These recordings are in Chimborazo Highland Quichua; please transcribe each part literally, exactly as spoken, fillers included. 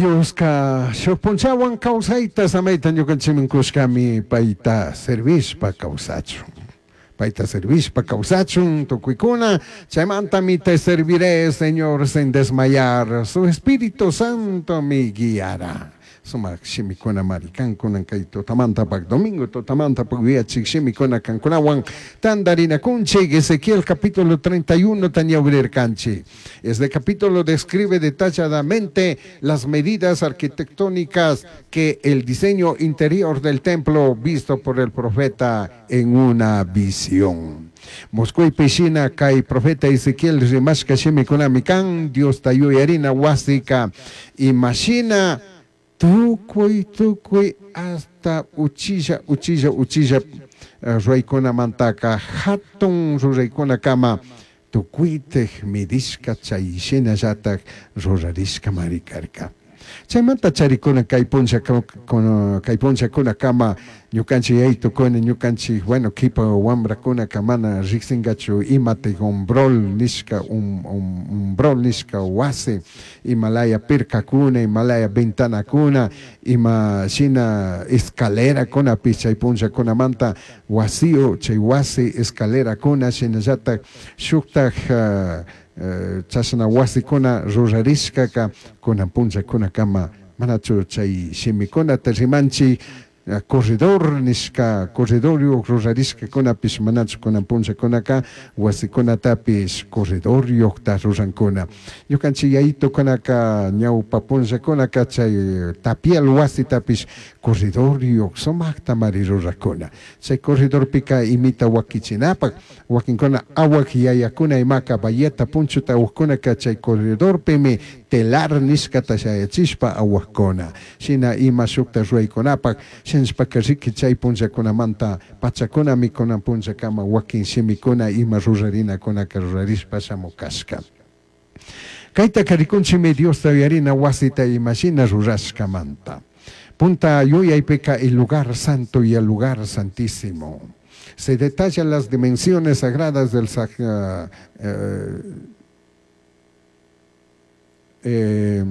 Dioska shuk punchawan kawsayta samayta ñukanchikman kushkami payta servishpa kawsachun. Payta servishpa kawsachun tukuykuna chaymantami te serviré, Señor, sin desmayar, su Espíritu Santo me guiará. Sumak shimikuna mari kankunan kay tutamantapak domingo tutamantapak yuyachik shimikuna kankunawan tantarinakunchik. Ezequiel capítulo treinta y uno tañawrirkanchik. Este capítulo describe detalladamente las medidas arquitectónicas que el diseño interior del templo visto por el profeta en una visión. Musquypi shina kay profeta Ezequiel rimashka shimikunami kan Diosta yuyarina wasika imashina tukuy tukuy hasta uchilla uchilla uchilla eh, ruraykunamantaka hatun ruraykunakama tukuytik midishka chay shinallatak rurarishkamari karka. Chaymanta charikuna kay puncha kay punchakunakama ñukanchik yaytukuna ñukanchik, bueno, kipa wambrakunaka mana riksinkachu imatik umbrol nishka um, um, umbrol nishka wasi, imalaya pirkakuna, imalaya ventanakuna, ima shina escalerakunapish chay punchakunamanta wasiyo chay wasi escalerakuna shinallatak shuktak uh, uh, chashna wasikuna rurarishkaka kunan punchakunakama manachu chay shimikunata rimanchik corredor nishka corredoryuq rurarishkakunapish manachu kunan punchakunaka wasikunatapish corredoryuqta rurankuna. Ñukanchik yayitukunaka ñawpa punllakunaka chay tapial wasitapish corredoryuq sumaktamari rurakuna. Chay corredorpika imita wakichinapak wakinkuna awak yayakuna imaka bayeta punchuta awakkunaka chay corredorpimi telar nishkata shayachishpa awakuna shina ima shukta ruraykunapak shinashpaka riki chay punllakunamanta pachakunami kunan punllakama wakin shimikuna ima rurarinakunaka rurarishpa shamukashka. Kaytaka rikunchikmi Diosta yuyarina wasita imashina rurashkamanta. Punta yuyaypika, el lugar santo y el lugar santísimo. Se detallan las dimensiones sagradas del uh, eh,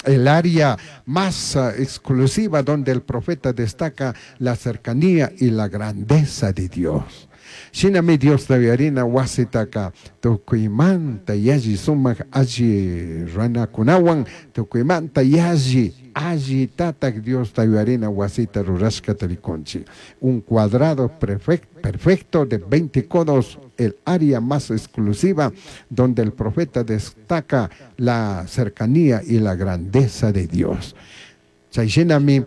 el área más uh, exclusiva donde el profeta destaca la cercanía y la grandeza de Dios. Shinami Diosta yuyarina wasitaka tukuymanta yalli sumak alli runakunawan tukuymanta yalli alli tatak Diosta yuyarina wasita rurashkata rikunchik. Un cuadrado perfecto de veinte codos, el área más exclusiva donde el profeta destaca la cercanía y la grandeza de Dios. Chay shinami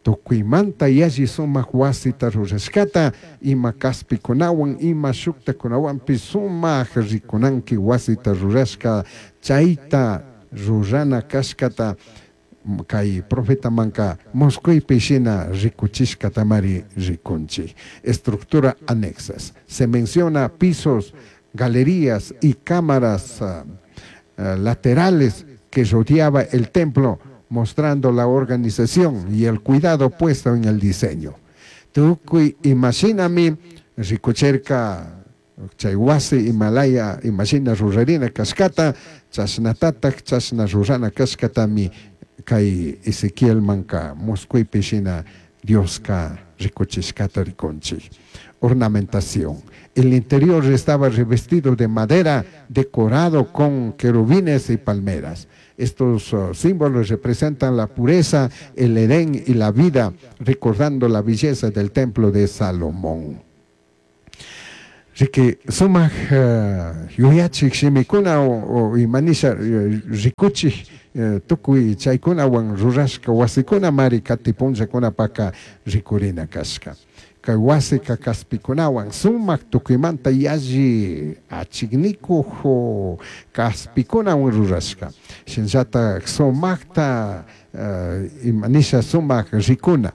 tukuymanta yalli sumak wasita rurashkata ima kaspikunawan ima shuktakunawanpish sumak rikunanki wasita rurashka chayta rurana kashkata kay profetamanka musquypi shina rikuchishkatamari rikunchik. Estructura anexas. Se menciona pisos, galerías y cámaras uh, uh, laterales que rodeaba el templo, mostrando la organización y el cuidado puesto en el diseño. Tukuy imashinami rikucherka chay wasi imalaya imashina rurarina kashkata chashnatatak chashna rurana kashkatami kay Ezequielmanka musquypi shina Dioska rikuchishkata rikunchik. Ornamentación. El interior estaba revestido de madera decorado con querubines y palmeras. Estos uh, símbolos representan la pureza, el Edén y la vida, recordando la belleza del templo de Salomón. Riki sumak uh, yuyachik shimikuna o, o imanisha rikuchik uh, tukuy chaykunawan rurashka wasikuna mari kati punllakunapaka rikurina kashka. Kay wasika kaspikunawan sumak tukuymanta yalli achiknikuq kaspikunawan rurashka. Shinllatak sumakta uh, imanisha sumak rikuna.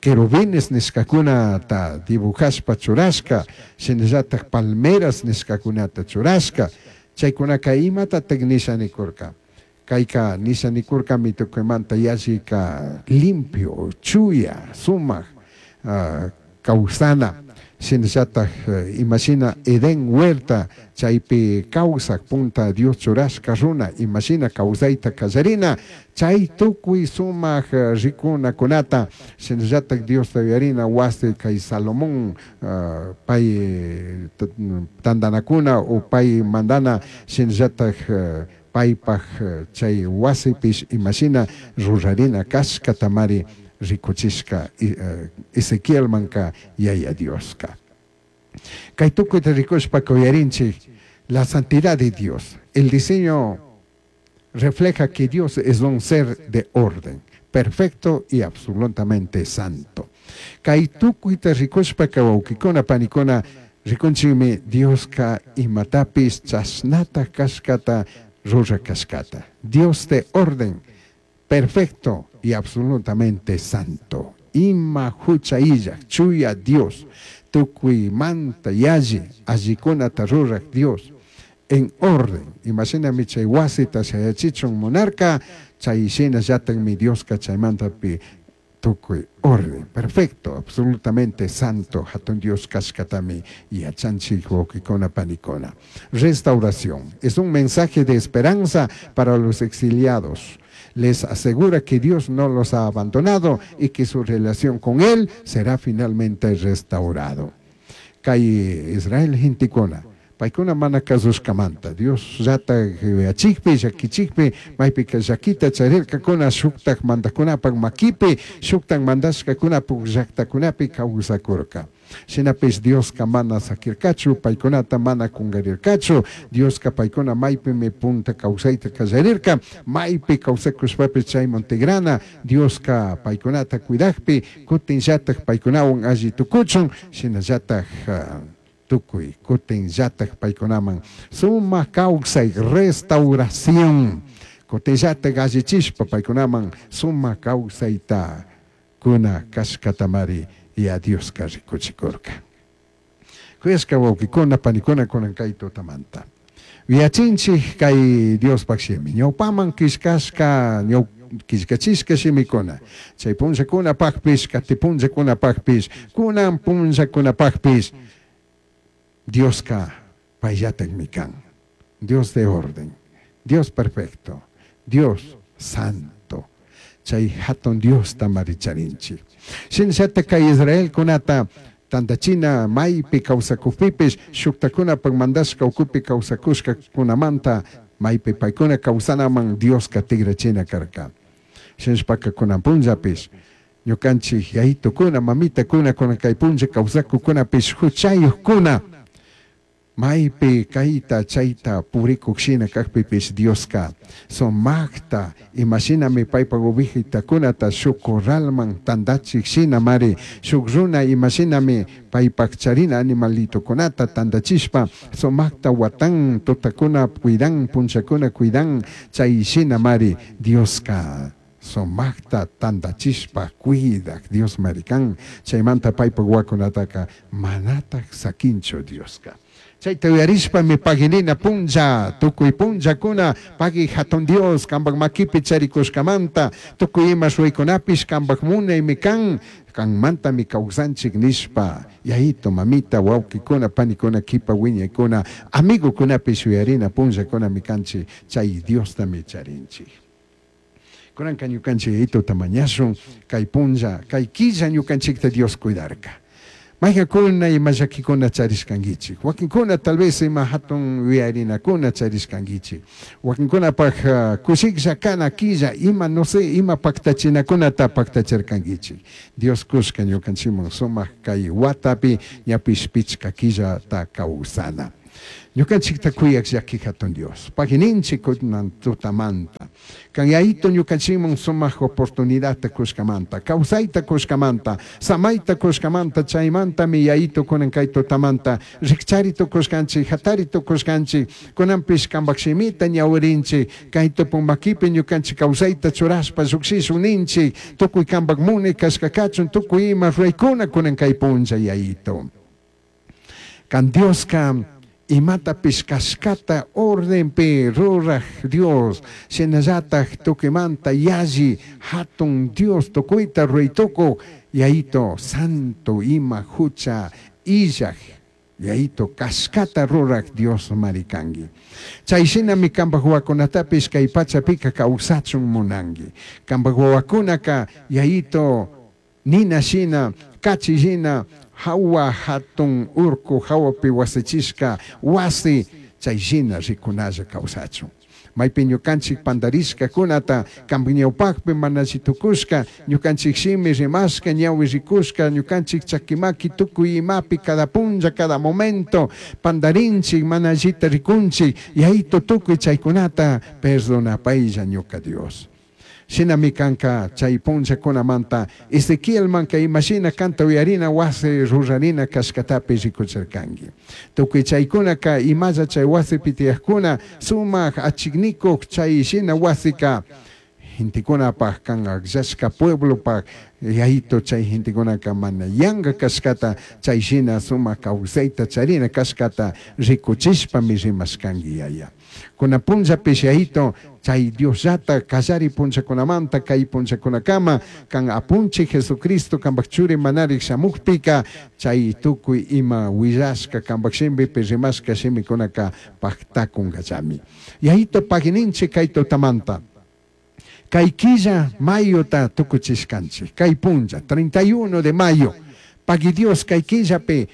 Querubines nishkakunata dibujashpa churashka, shinallatak palmeras nishkakunata churashka. Chaykunaka imatatak nisha nikurka? Kayka nisha nikurkami tukuymanta yallika limpio, chuya, sumak uh, kawsana. Shinallataj imashina Edén huerta chaypi kawsak punta Dios churashka runa imashina kawsayta kallarina chay tukuy sumak rikunakunata shinallataj Diosta yuyarina wasi kay Salomón pay tantanakuna o pay mandana shinallataj paypaj chay wasipish imashina rurarina kashkatamari rikuchishka Ezequielmanka Yaya Dioska. Kay tukuyta rikushpaka uyarinchik la santidad de Dios. El diseño refleja que Dios es un ser de orden, perfecto y absolutamente santo. Kay tukuyta rikushpaka wawkikuna panikuna rikunchikmi Dioska imatapish chashnata kashkata rurak kashkata. Dios de orden, perfecto y absolutamente santo. Ima hucha illak, chuya Dios, tukuymanta yalli allikunata rurak Dios, en orden. Imashinami chay wasita shayachichun munarka, chay shinallatakmi Dioska chaymantapi tukuy orden, perfecto, absolutamente santo, hatun Dios kashkatami yachanchik wawkikuna panikuna. Restauración es un mensaje de esperanza para los exiliados. Les asegura que Dios no los ha abandonado y que su relación con Él será finalmente restaurado. Kay Israel gentekuna, paykuna mana kasushkamanta, Dios llata yachikpi, llakichikpi, maypika llakita charirkakuna shuktak mandakunapak makipi, shuktak mandashkakunapak llaktakunapi kawsakurka. Shinapish Dioska mana sakirkachu, paykunata mana kungarirkachu, Dioska paykuna maypimi punta kawsayta kallarirka, maypi kawsakushpapish chayman tigrana, Dioska paykunata cuidakpi, kutinllatak paykunawan alli tukuchun, shinallatak tukuy, kutinllatak paykunaman sumak kawsay restauración, kutinllatak allichishpa paykunaman sumak kawsayta kuna kashkatamari ya Dioska rikuchikurka. Kuyashka wawkikuna panikuna kunan kay tutamanta. Yachinchik kay Diospak shimi, ñawpaman killkashka, ñaw killkachishka shimikuna, chay punllakunapakpish, kati punllakunapakpish, kunan punllakunapakpish, Dioska payllatakmi kan. Dios de orden, Dios perfecto, Dios santo. Chay hatun Diosta maricharinchik. Shinallatak kay Israelkunata tantachina maypi kawsakukpipish, shuktakunapak mandashka ukupi kawsakushkakunamanta maypi paykuna kawsanaman Dioska tigrachina karka. Shinashpaka kunan punllapish, ñukanchik yayitukuna, mamitakuna, kunan kay punlla kawsakukunapish huchayukkuna, maypi kayta chayta purikuk shina kakpipish Dioska sumakta imashinami paypak ovejitakunata shuk corralman tantachik shina mari, shuk runa imashinami paypak charina animalitokunata tantachishpa sumakta watan tutakuna cuidan, punchakuna cuidan, chay shina mari Dioska sumakta tantachishpa cuidak Dios marikan, chaymanta paypak wakunataka manatak sakinchu Dioska. Chayta uyarishpami paginina punlla, tukuy punllakuna, pagi hatun Dios, kanpak makipi charikushkamanta, tukuy ima ruraykunapish kanpak munaymi kan, kanmantami kawsanchik nishpa, yayito, mamita, wawkikuna, panikuna, kipa wiñaykuna, amigukunapish uyarina punllakunami kanchik, chay Diostami charinchik. Kunanka ñukanchik yayituta mañashun, kay punlla, kay killa ñukanchikta Dios cuidarka. Mayqakuna ima llakikuna charishkankichik, wakinkuna tal vez ima hatun yuyarinakuna charishkankichik, wakinkunapaj kushiklla kana killa ima no sé ima paktachinakunata paktachirkankichik. Dios kushka ñukanchikman sumak kay watapi ñapish pichka killata kawsana. Ñukanchikta kuyak llaki hatun Dios, pagininchik kunan tutamanta, kan yayito ñukanchikman sumak oportunidadta kushkamanta, kawsayta kushkamanta, samayta kushkamanta, chaymantami yayito kunan kay tutamanta, rikchari tukushkanchik, hatari tukushkanchik, kunanpish kanpak shimita ñawirinchik, kay tupun makipi ñukanchik kawsayta churashpa llukshishun ninchik, tukuy kanpak munay kashka kachun, tukuy ima ruraykuna kunan kay punlla yayito. Kan Dioska imatapish kashkata ordenpi ruraj Dios, shinallatak tukimanta yalli hatun Dios tukuyta ruraytukuq yayito santo ima hucha illaj Yaito cashcata ruraj Diosmari cangui. Chay shinami cambaj huahuacunatapish kay pachapika kawsachun munangui. Cambaj huahuacunaka Yaito nina shina, kachi shina, jahua jatun urcu jahuapi wasichishca wasi chay shina ricunalla kawsachun. Maypi ñukanchik pandarishkakunata cambaj ñawpakpi mana alli tukushka, ñukanchik shimi rimashka, ñawi rikushka, ñukanchik chakimaki tukuy imapi cada punlla, cada momento pandarinchik, mana allita rikunchik, Yaito tukuy chaykunata perdonapaylla ñuka Dios. Shinami kanka chay punllakunamanta Ezequielmanka imashina kanta uyarina wasi rurarina kashkatapi rikuchirkanki. Tukuy chaykunaka imalla chay wasipi tiyajkuna sumak achiknikuq chay shina wasika gentekunapaj kan akllashka pueblopaj Yaito chay gentekunaka mana yanka kashkata chay shina sumak kawsayta charina kashkata rikuchishpami rimashkanki yaya. Kuna punllapish Yaito chay Diosllata kallari punllakunamanta kay punllakunakama kan apunchik Jesucristo kambaj churi manarik shamukpika chay tukuy ima willashka kambaj shimipi rimashka shimikunaka paktakunkallami. Yaito pagininchik kay tutamanta. Kay killa mayota tukuchishkanchik, kay punlla, treinta y uno de mayo, pagui Dios kay killapi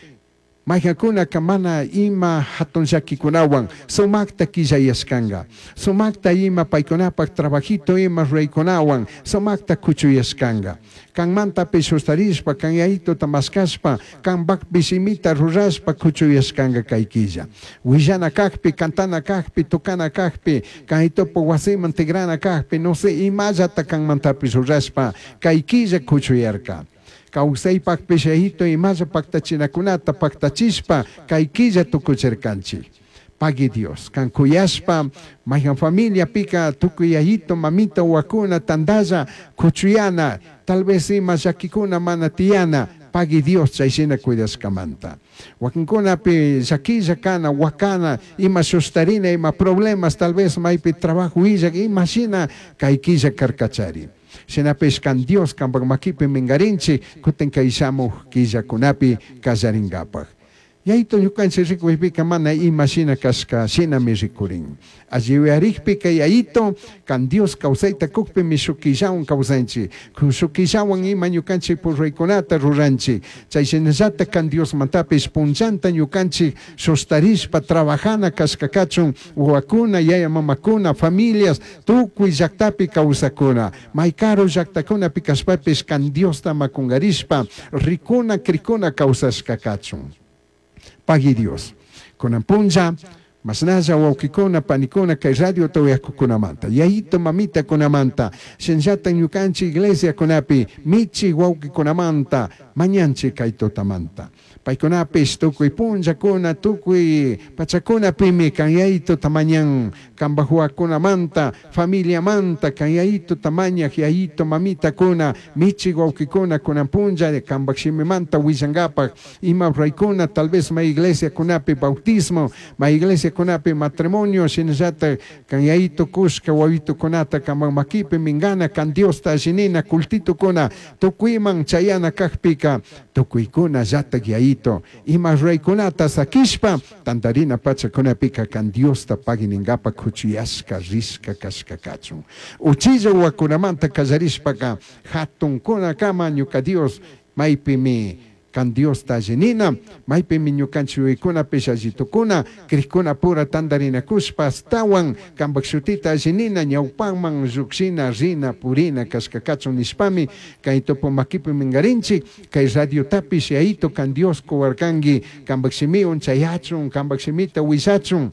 mayqakunaka mana ima hatun llakikunawan sumakta killayashkanka, sumakta ima paykunapak trabajito ima ruraykunawan sumakta kuchuyashkanka. Kanmantapish sustarishpa, kan yayituta maskashpa, kanpakpish imita rurashpa kuchuyashkanka kay killa. Willana kakpi, cantana kakpi, tocana kakpi, kaytupu wasiman tigrana kakpi, no sé, imallata kanmantapish rurashpa kay killa kuchuyarka. Kawsaypakpish yayito imalla paktachinakunata paktachishpa kay killa tukuchirkanchik. Pagui Dios, kan kuyashpa, mayhan familia pika tukuy yayito, mamita, wakuna, tandalla, kuchuyana, tal vez ima llakikuna mana tiyana, pagui Dios chay shina cuidashkamanta. Wakinkunapi llakilla kana, wakana, ima sustarina, ima problemas, tal vez maypi trabajo illak, ima shina kay killa karkachari. Shinapish kan Dios kanpak makipi mingarinchik, kutin kay shamuj killakunapi kallarinkapak. Yayito ñukanchik rikuypika mana ima shina kashka shinami rikurin. Alli yuyarikpika yayito kan Dios kawsayta kukpimi shuk killawan kawsanchik. Shuk killawan ima ñukanchik purraykunata ruranchik. Chay shinallata kan Diosmantapish punllanta ñukanchik sustarishpa trabajana kashka kachun wawakuna, yaya mamakuna, familias, tukuy llaktapi kawsakuna. May karu llaktakunapi kashpapish kan Diosta makungarishpa rikuna, krikuna kawsashka kachun. Pagui Dios. Kunan punlla, masnalla wawkikuna, panikuna, kay radio toyakukunamanta, yayito mamita kunamanta, shinllata ñukanchik iglesia kunapi, michi wawkikunamanta, mañanchik kay tutamanta. Paykunapish tukuy punllakuna, tukuy pachakunapimi kan yayito tamañan, kambajuakunamanta, familiamanta, kan yayito tamañaj, yayito mamitakuna, michi wawkikuna, kunan punlla, kambaj shimimanta willankapak, ima raykuna, tal vez ma iglesia kunapi bautismo, ma iglesia kunapi matrimonio, shinallata kan yayito kushka wawitukunata kambaj makipi mingana, kan Diosta allinina, kultitukuna, tukuyman chayana kajpika, tukuykuna llatak yayito, ima raykunata sakishpa, tantarina pachakunapika kan Diosta pagininkapa kuchuyashka, rishka, kashka kachun. Uchilla wakunamanta kallarishpaka, hatunkunakama ñuka Dios, maypimi kan Diosta allinina, maypimi ñukanchik yuyaykunapish allitukuna, krikuna pura tantarinakushpa, astawan kanpak shutita allinina, ñawpaman llukshina, rina, purina, kashka kachun nishpami, kay tupu makipi mingarinchik, kay radiotapish yayito kan Dios kuwarkanki, kanpak shimiwan chayachun, kanpak shimita willachun.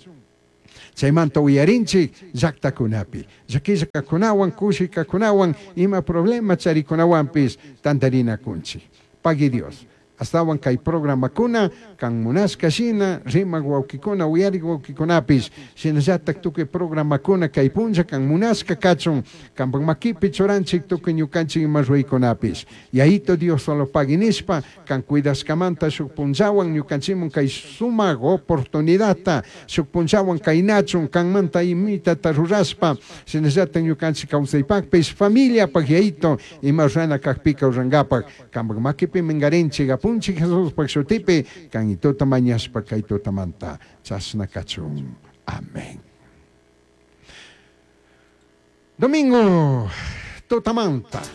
Chaymanta uyarinchik llaktakunapi, llakillakakunawan, kushikakunawan, ima problema charikunawanpish tantarinakunchik. Pagui Dios. Astawan kay programakuna, kan munashka shina, rimak wawkikuna, uyarik wawkikunapish, shinallatak tukuy programakuna kay punlla kan munashka kachun, kanpak makipi churanchik tukuy ñukanchik ima ruraykunapish. Yayito Dios solo pagui nishpa, kan cuidashkamanta shuk punllawan ñukanchikmun kay sumak oportunidadta, shuk punllawan kaynachun, kanmanta imitata rurashpa, shinallatak ñukanchik kawsaypakpish, familiapak yayito, ima rurana kakpika rurankapak, kanpak makipi mingarinchik, Apunchij Jesuspaj shutipi can tuta mañashpa kay tutamanta chashna kachun. Amén. Domingo tutamanta.